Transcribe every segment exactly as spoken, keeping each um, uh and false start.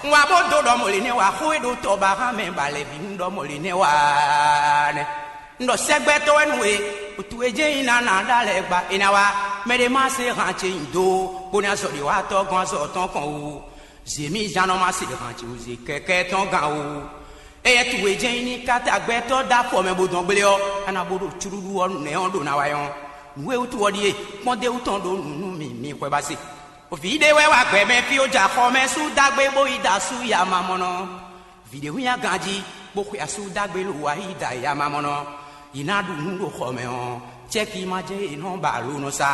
Un wá bó dó ɖɔ mɔ̌ lě nɛ́ wá, xó e ɖo tɔ ba hán mɛ ba lɛ̌ bǐ un ɖɔ mɔ̌ lě nɛ́ wá nɛ́. Un ɖɔ sɛ́gbɛ́tɔ́ wɛ nú we, wǔtu e jɛ́n nyi ná ná ɖó alɛ gba è nǎ wá. Mɛ ɖé má se han ce nyi do, bó ná zɔ ɖě wá tɔ́ gɔ́n azɔ tɔn kɔn o. Zě mì zán nɔ má se han ce o, zě kɛkɛ́ tɔn gán o. Éyɛ́ towe jɛ́n nyí ní káta gbɛtɔ́ dó afɔ mɛ bó dɔn gblé ɔ́, a nǎ bó ɖo cúɖúɖú ɔ́ nɛ́ ɔ́ ɖo ná wá nyɔ́. Nǔ e wútu ɔ́ ɖíe: kpɔ́ndéwú tɔn ɖó nǔ nú mì, mi xwɛ ba se. Vǐ ɖé wɛ wá gbɛ mɛ fí ó, jɛ axɔ mɛ sú dó agbé bó yi da asú ya mamɔnɔ. Vǐ ɖé hwín aganjí, bó xwe asú dó agbé lo wá yi da ya mamɔnɔ. Yi ná ɖu nǔ ɖo xɔ mɛ ɔ́, cɛ́ki ma jɛ́n è nɔ ba alo nɔ sa.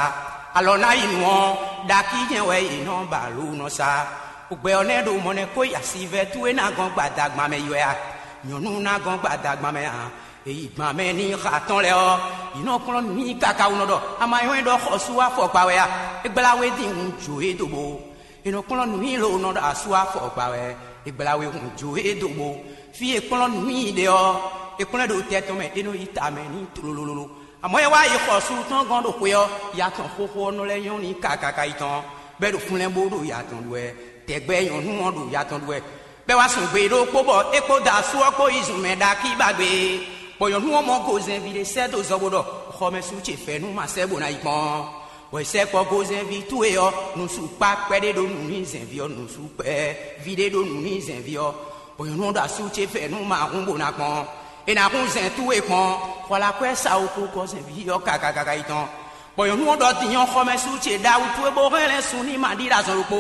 Alɔ ná yi nǔ ɔ́, ɖakí jɛ́n wɛ è nɔ ba alo nɔ sa. Gbɛ ɔ́ nɛ́ ɖo mɔ̌ nɛ́ kó yi asivɛ́ towe ná gɔ́n gbadagban mɛ yi wɛ a? Nyɔ̌nu ná gɔ́n gbadagban mɛ a? Èyí gban mɛ ní xa tɔn lɛ́ɛ ɔ́, yě nɔ kplɔ́n nǔ nyi káká wú nɔ ɖɔ: "Ama nyɔ́ é ɖɔ xɔsú afɔkpa wɛ a?" É gbla we dín hun jǒ é dó bo. È nɔ kplɔ́n nǔ nyi lo nɔ ɖɔ asú afɔkpa wɛ. É gbla we hun jǒ é dó bo. Fí e kplɔ́n nǔ nyi ɖe ɔ́, è kplɔ́n ɛ ɖo tɛ tɔn mɛ, é nɔ yi ta mɛ ní tlololo. Amɔ̌ é wá yi xɔsú tɔn gɔ́n ɖo xwe ɔ́, ya tɔn xóxó ɔ́ nɔ lɛ́ nyɔ́ n'i kákáká yi tɔn, bɔ é ɖo fúnlɛ́n bó ɖo ya tɔn ɖu wɛ. Tɛgbɛ nyɔ̌nu ɔ́ ɖo ya tɔn ɖu wɛ. Bɔ é wá sun gbe ɖokpó bɔ é kpódó asú ɔ́ kpó yi zun mɛ ɖakí ba gbe, bɔ nyɔ̌nu ɔ́ mɔ gozɛnví ɖé sɛ́ dó zɔ bó ɖɔ: "Xɔmɛsú ce fɛ́nú ma sɛ́ bó ná yi kpɔ́n." Bɔ è sɛ́ kpɔ́ gozɛnví towe ɔ́, nǔsú kpá kpɛɖé ɖó nǔ nyi zɛnví ɔ́, nǔsú kpɛ́ ví ɖé ɖó nǔ nyi zɛnví ɔ́, bɔ nyɔ̌nu ɔ́ ɖo asú ce fɛ́nú ma hún bó ná kpɔ́n. È nǎ hún zɛn towe kpɔ́n, xɔ la kwɛ́ sa wú kú gɔ́ zɛnví ɔ́ kákákáká yi tɔn. Bɔ nyɔ̌nu ɔ́ ɖɔ din ɔ́, xɔmɛsú ce ɖawu towe bó hɛn lɛ́ sun ní ma ɖi ɖo azɔn ɖokpó.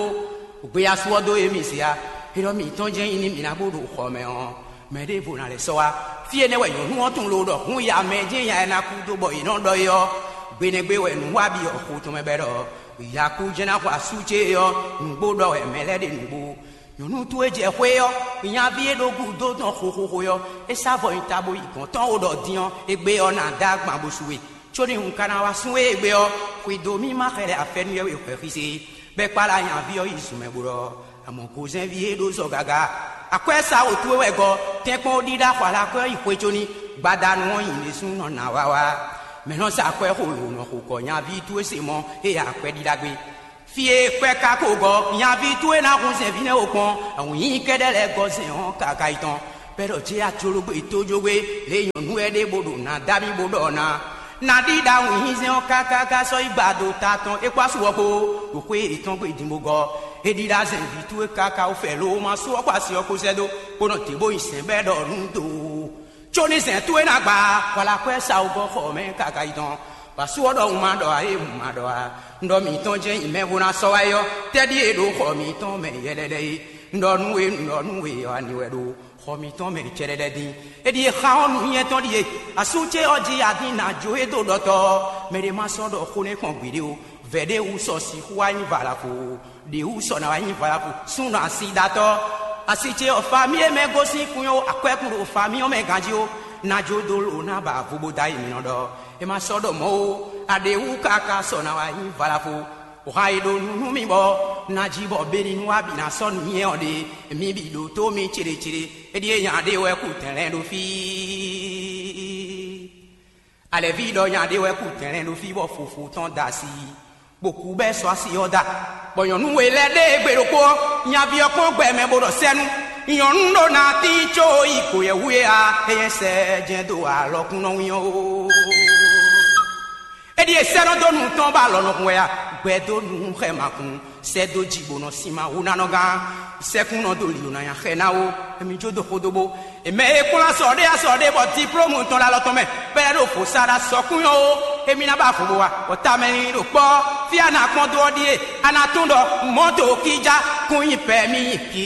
Gbe asú ɔ́ dó émí se a? É ɖɔ mǐtɔn jɛ́n nyí ní mǐ ná bó ɖo xɔ mɛ ɔ́, mɛ ɖěvo ná lɛ́ sɔ́ wá. Fí énɛ́ wɛ nyɔ̌nu ɔ́ tunwun lo ɖɔ hǔn ya mɛ jɛ́n ya e ná kú dó bɔ è nɔ ɖɔ é ɔ́, gbe nɛ́ gbe wɛ nǔ wa bǐ ɔ́ xo tɔn mɛ bɔ é ɖɔ: "Yakú jɛ́n ná xɔ asú ce é ɔ́, nǔgbó ɖɔ wɛ mɛ lɛ́ɛ ɖe nǔgbó." Nyɔ̌nu towe jɛ xwé ɔ́, nyaví e ɖo gúdo tɔn xóxóxó ɔ́, é sá vɔ nyi ta bó yi gɔ̌n tɔn ó ɖɔ din ɔ́, égbé ɔ́ ná dó agban bó su we. Có ní un ka ná wá sun we égbé ɔ́, xwedó mì ma xɛlɛ afɛ́nú yɛ́we hwɛxíse, bɔ é kpála nyaví ɔ́ yi zun mɛ bó ɖɔ: "Amɔ̌ gozɛ́nví e ɖó zɔ gaga, akwɛ́ sa wǒ towe wɛ gɔ́, tɛ́nkpɔ́n ó ɖíɖá xɔ alákwɛ́ ɔ́ yi xwé có ní, gbadanu ɔ́ nyi ɖésú nɔ ná wá wá." Mɛ̌ nɔ sa akwɛ́ xo lǒ nɔ xo kɔ nyaví towe se mɔ é ya akwɛ́ ɖíɖá gbé? Fí e kwɛ́ ka ko gɔ́, nyaví towe ná hun zɛ̌nví nɛ́ wo kpɔ́n, awǐnnyí kɛ́ɖɛ́ lɛ́ɛ gɔ́ zɛ̌n ɔ́ káká yi tɔn. Bɛ́ ɖɔ jé ajológbé tójógbé, lě e nyɔ̌nu wɛ ɖe bó ɖo nǎ dá mì bó ɖɔ ná: "Ná ɖíɖá wǐnnyízɛ́n ɔ́ káká sɔ́ yi gba do ta tɔn é kpó asú ɔ́ kpó, ɖo xwé yětɔn gbe din bó gɔ́. É ɖíɖá zɛ̌nví towe káká wú fɛ lo ma sú ɔ́ kpó asi ɔ́ kpó sɛ́ dó, bó nɔ dě bó nyi sɛ̌n bɛ́ ɖɔ nú do. Có ní zɛ̌n towe ná gba, hwalakwɛ́ sa wú gɔ́ xɔ mɛ káká yi tɔn. Vǎ sú ɔ́ ɖɔ un ma ɖɔ ǎ é, un ma ɖɔ ǎ. Un ɖɔ mǐtɔn jɛ́n nyi mɛ bó ná sɔ́ wá é ɔ́, tɛ́ ɖíe ɖo xɔ mǐtɔn mɛ yɛlɛlɛ é? Un ɖɔ nú we, un ɖɔ nú we ɔ́, ani wɛ ɖo xɔ mǐtɔn mɛ cɛɖɛɖɛ dín. É ɖíe xa ɔ́, nǔnywɛ́ tɔn ɖíe: asú ce ɔ́ jí adín ná jó e dó ɖɔtɔ́ ɔ́, mɛ ɖé má sɔ́ ɖɔ xó nɛ́ kpɔn gbeɖé ó. Vɛ̌ ɖé wú sɔ sixú wá nyí valafo, ɖě wú sɔ ná wá nyí valafo súnnu asidatɔ́. Asi ce ɔ́, fami e mɛ gosín kun ɔ́, akwɛ́kún ɖo fami ɔ́ mɛ ganjí ó, ná jó dó lo ná ba vo bó dó ayi mǐ nɔ ɖɔ: "É má sɔ́ ɖɔ mɔ̌ ó, aɖě wú káká sɔ ná wá nyí valafo." Wǎ e ɖo nú nú mì bɔ ná jí bɔ bení nú wá bǐ ná sɔ́ nǔnywɛ́ ɔ́ ɖe, mi bǐ ɖótó mi céɖécéɖé. É ɖíe nya ɖé wɛ kú tɛnlɛ́n ɖo fí. Alɛ̌ví ɖɔ nya ɖé wɛ kú tɛnlɛ́n ɖo fí bɔ fofo tɔn da asi, bó kú bɛ́ sɔ́ asi ɔ́ da. Bɔ nyɔ̌nu we lɛ́ɛ ɖe gbe ɖokpó ɔ́, nyaví ɔ́ kpɔ́n gbɛ mɛ bó ɖɔ sɛ́nú: "Nyɔ̌nu ɖó ná tín có yi kǒyɛ́wú é a, é nyɛ sɛ jɛ́n dó alɔkúnnɔ wín ɔ́ ó." É ɖíe sɛ́ nɔ dó nu tɔn bɔ alɔ nɔ hun wɛ a? Gbɛ dó nu xɛ makun, sɛ́ dó jǐ bó nɔ sin ma wú ná nɔ gán. Sɛ́kún nɔ dó lǐ ná nya xɛ ná ó, émí jó dó xódó bó. È mɛ e kplɔ́n asɔ ɖé asɔ ɖé bɔ diplómu tɔn ɖo alɔ tɔn mɛ, bɔ é ɖo vo sa ɖo asɔkún nyɔ́ ó, émí ná ba vo bó wa, bɔ tamɛ ní ɖo kpɔ́, fí a nǎ kpɔ́n dó ɔ́ ɖíe: a nǎ tunwun ɖɔ mɔ̌to kíjá kún nyi pɛ̌ mì nyi kí